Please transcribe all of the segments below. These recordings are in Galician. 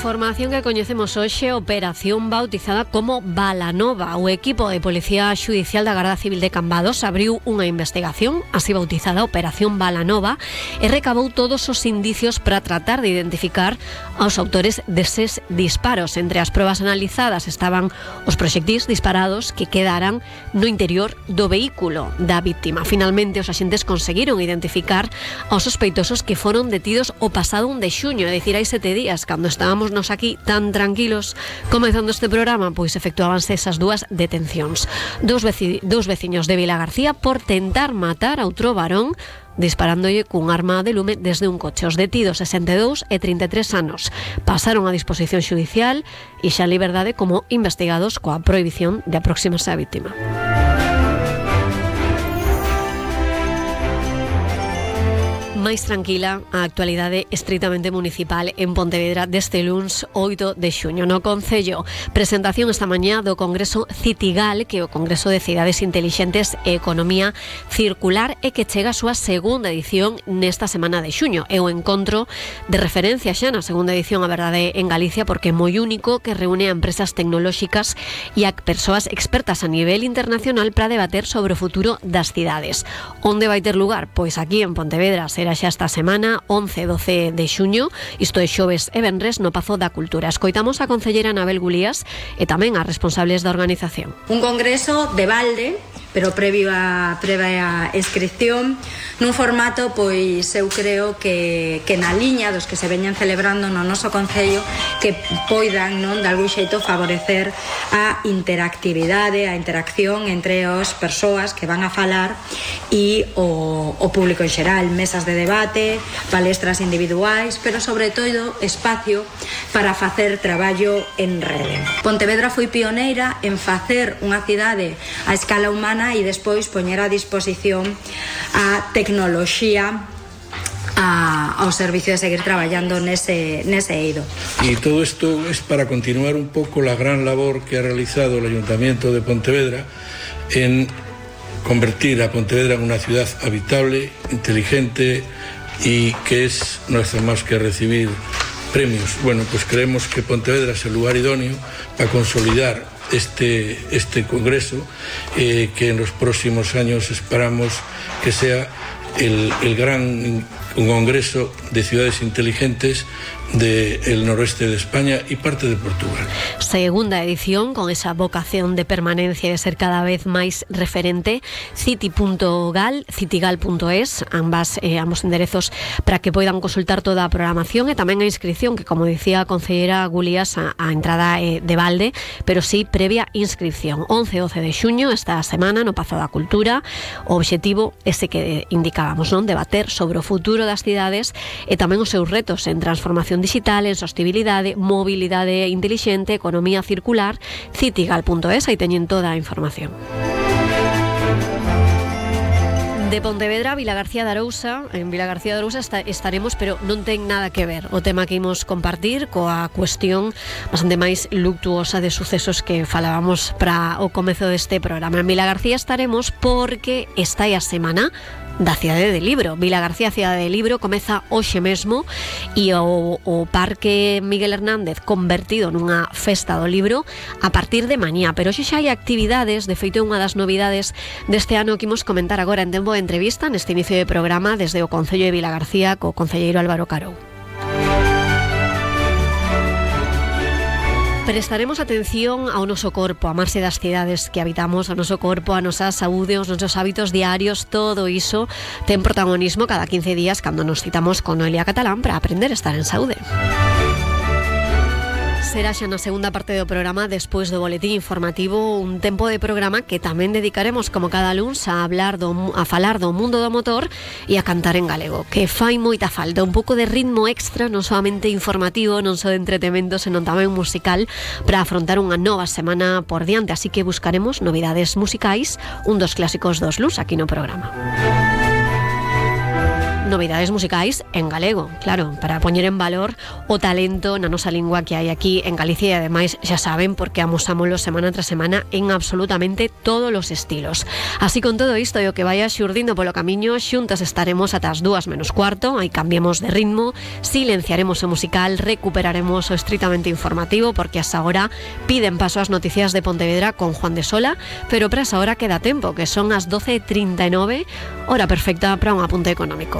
información que coñecemos hoxe, operación bautizada como Balanova. O equipo de Policía Xudicial da Garda Civil de Cambados abriu unha investigación, así bautizada Operación Balanova, e recabou todos os indicios para tratar de identificar aos autores deses disparos. Entre as probas analizadas estaban os proxectís disparados que quedaran no interior do vehículo da víctima. Finalmente, os axentes conseguiron identificar aos sospeitosos que foron detidos o pasado 1 de xuño, é dicir, hai 7 días, cando estábamos nos aquí tan tranquilos comezando este programa, pois efectuábanse esas dúas detencións. Dous veciños de Vilagarcía por tentar matar a outro varón disparándolle cun arma de lume desde un coche. Os detidos, 62 e 33 anos, pasaron a disposición xudicial e xa en liberdade como investigados coa prohibición de aproximarse á víctima. Máis tranquila a actualidade estritamente municipal en Pontevedra deste luns 8 de xuño. No Concello, presentación esta mañá do Congreso Citigal, que é o Congreso de Cidades Intelixentes e Economía Circular, e que chega a súa segunda edición nesta semana de xuño. É o encontro de referencia xa na segunda edición, a verdade, en Galicia, porque é moi único, que reúne a empresas tecnolóxicas e a persoas expertas a nivel internacional para debater sobre o futuro das cidades. Onde vai ter lugar? Pois aquí en Pontevedra será xa esta semana, 11 e 12 de xuño, isto é xoves e venres, no Pazo da Cultura. Escoitamos a concelleira Anabel Gulías e tamén a responsables da organización. Un congreso de balde, pero previa inscripción, nun formato, pois eu creo que na liña dos que se veñan celebrando no noso concello, que poidan, non, de algún xeito favorecer a interactividade, a interacción entre as persoas que van a falar e o público en xeral, mesas de debate, palestras individuais, pero sobre todo espacio para facer traballo en rede. Pontevedra foi pioneira en facer unha cidade a escala humana e despois poñer a disposición a tecnoloxía ao servicio de seguir traballando nese eido. Y todo esto es para continuar un poco la gran labor que ha realizado el Ayuntamiento de Pontevedra en convertir a Pontevedra en una ciudad habitable, inteligente y que no hace más que recibir premios. Bueno, pues creemos que Pontevedra es el lugar idóneo para consolidar este congreso, que en los próximos años esperamos que sea el gran congreso de ciudades inteligentes del noroeste de España y parte de Portugal. Segunda edición, con esa vocación de permanencia y de ser cada vez máis referente. City.gal, citigal.es, ambos enderezos para que poidan consultar toda a programación e tamén a inscripción, que como dicía a concelleira Gulías, a entrada de balde, pero sí previa inscripción. 11 e 12 de xuño esta semana no Pazo da Cultura. O obxectivo ese que indicábamos, non? Debater sobre o futuro das cidades e tamén os seus retos en transformación digital, en sostenibilidade, mobilidade intelixente, economía circular. Citigal.es, aí teñen toda a información. De Pontevedra a Vilagarcía de Arousa. En Vilagarcía de Arousa estaremos, pero non ten nada que ver o tema que imos compartir coa cuestión bastante máis luctuosa de sucesos que falábamos para o comezo deste programa. En Vilagarcía estaremos porque está aí a semana da Cidade de Libro. Vilagarcía Cidade de Libro comeza hoxe mesmo e o Parque Miguel Hernández convertido nunha festa do libro a partir de mañá, pero hoxe xa hai actividades. De feito, unha das novidades deste ano que imos comentar agora en tempo de entrevista neste inicio de programa desde o Concello de Vilagarcía co concelleiro Álvaro Carou. Prestaremos atención ao noso corpo, a marxe das cidades que habitamos, ao noso corpo, a nosa saúde, os nosos hábitos diarios. Todo iso ten protagonismo cada 15 días cando nos citamos con Noelia Catalán para aprender a estar en saúde. Será xa na segunda parte do programa, despois do boletín informativo, un tempo de programa que tamén dedicaremos, como cada luns, a falar do mundo do motor e a cantar en galego, que fai moita falta, un pouco de ritmo extra, non solamente informativo, non só de entretemento, senón tamén musical, para afrontar unha nova semana por diante, así que buscaremos novidades musicais, un dos clásicos dos luns aquí no programa. novidades musicais en galego, claro, para poñer en valor o talento na nosa lingua que hai aquí en Galicia, e ademais xa saben porque amosámoslo semana tras semana en absolutamente todos os estilos. Así con todo isto e o que vaya xurdindo polo camiño, xuntas estaremos ata as 2:45, aí cambiemos de ritmo, silenciaremos o musical, recuperaremos o estritamente informativo porque hasta agora piden paso ás noticias de Pontevedra con Juan de Sola, pero para esa hora queda tempo, que son as 12:39, hora perfecta para un apunte económico.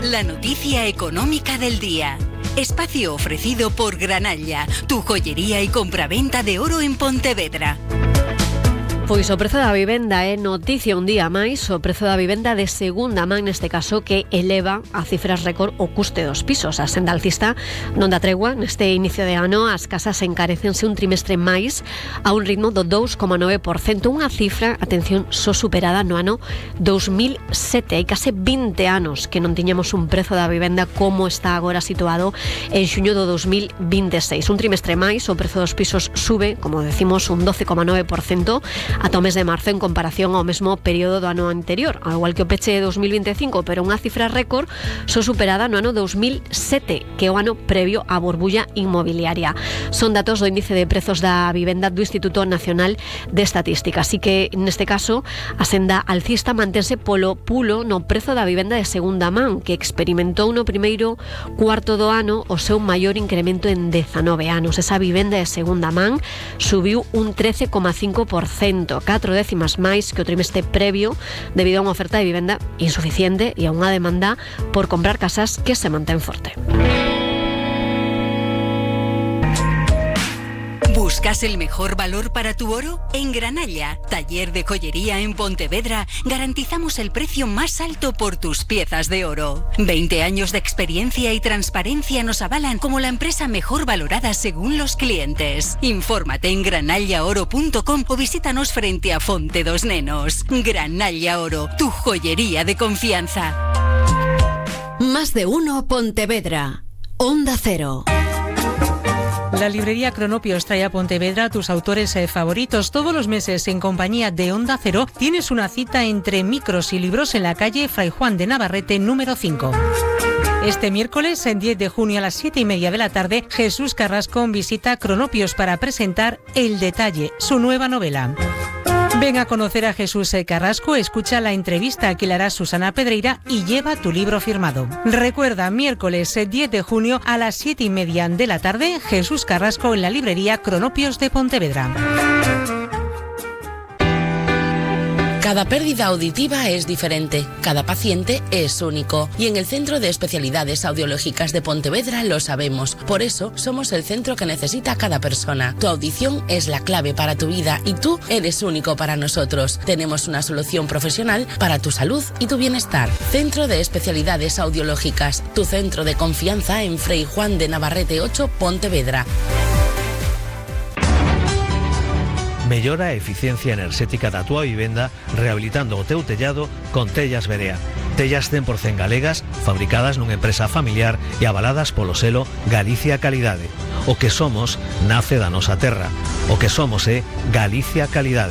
La noticia económica del día. Espacio ofrecido por Granalla, tu joyería y compraventa de oro en Pontevedra. Pois o prezo da vivenda é noticia un día máis, o prezo da vivenda de segunda man neste caso, que eleva a cifras récord o custe dos pisos. A senda alcista non dá tregua, neste inicio de ano as casas encarecense un trimestre máis a un ritmo do 2,9%, unha cifra, atención, só superada no ano 2007. Hai case 20 anos que non tiñamos un prezo da vivenda como está agora situado en xuño do 2026. Un trimestre máis, o prezo dos pisos sube, como decimos, un 12,9%, ata o mes de marzo en comparación ao mesmo período do ano anterior, ao igual que o peche de 2025, pero unha cifra récord só superada no ano 2007, que é o ano previo á burbulla inmobiliaria. Son datos do índice de prezos da vivenda do Instituto Nacional de Estatística, así que neste caso a senda alcista mantense polo pulo no prezo da vivenda de segunda man, que experimentou no primeiro cuarto do ano o seu maior incremento en 19 anos. Esa vivenda de segunda man subiu un 13,5%, 4 décimas máis que o trimestre previo, debido a unha oferta de vivenda insuficiente e a unha demanda por comprar casas que se mantén forte. ¿Buscas el mejor valor para tu oro? En Granalla, taller de joyería en Pontevedra, garantizamos el precio más alto por tus piezas de oro. 20 años de experiencia y transparencia nos avalan como la empresa mejor valorada según los clientes. Infórmate en granallaoro.com o visítanos frente a Fonte dos Nenos. Granalla Oro, tu joyería de confianza. Más de uno Pontevedra. Onda Cero. La librería Cronopios trae a Pontevedra a tus autores favoritos. Todos los meses, en compañía de Onda Cero, tienes una cita entre micros y libros en la calle Fray Juan de Navarrete, número 5. Este miércoles, en 10 de junio a las 7:30 de la tarde, Jesús Carrasco visita Cronopios para presentar El Detalle, su nueva novela. Ven a conocer a Jesús Carrasco, escucha la entrevista que le hará Susana Pedreira y lleva tu libro firmado. Recuerda, miércoles 10 de junio a las 7:30 de la tarde, Jesús Carrasco en la librería Cronopios de Pontevedra. Cada pérdida auditiva es diferente, cada paciente es único y en el Centro de Especialidades Audiológicas de Pontevedra lo sabemos. Por eso somos el centro que necesita cada persona. Tu audición es la clave para tu vida y tú eres único para nosotros. Tenemos una solución profesional para tu salud y tu bienestar. Centro de Especialidades Audiológicas, tu centro de confianza en Fray Juan de Navarrete 8, Pontevedra. Mellora a eficiencia enerxética da túa vivenda rehabilitando o teu tellado con Tellas Berea. Tellas 100% galegas, fabricadas nunha empresa familiar e avaladas polo selo Galicia Calidade. O que somos nace da nosa terra. O que somos é Galicia Calidade.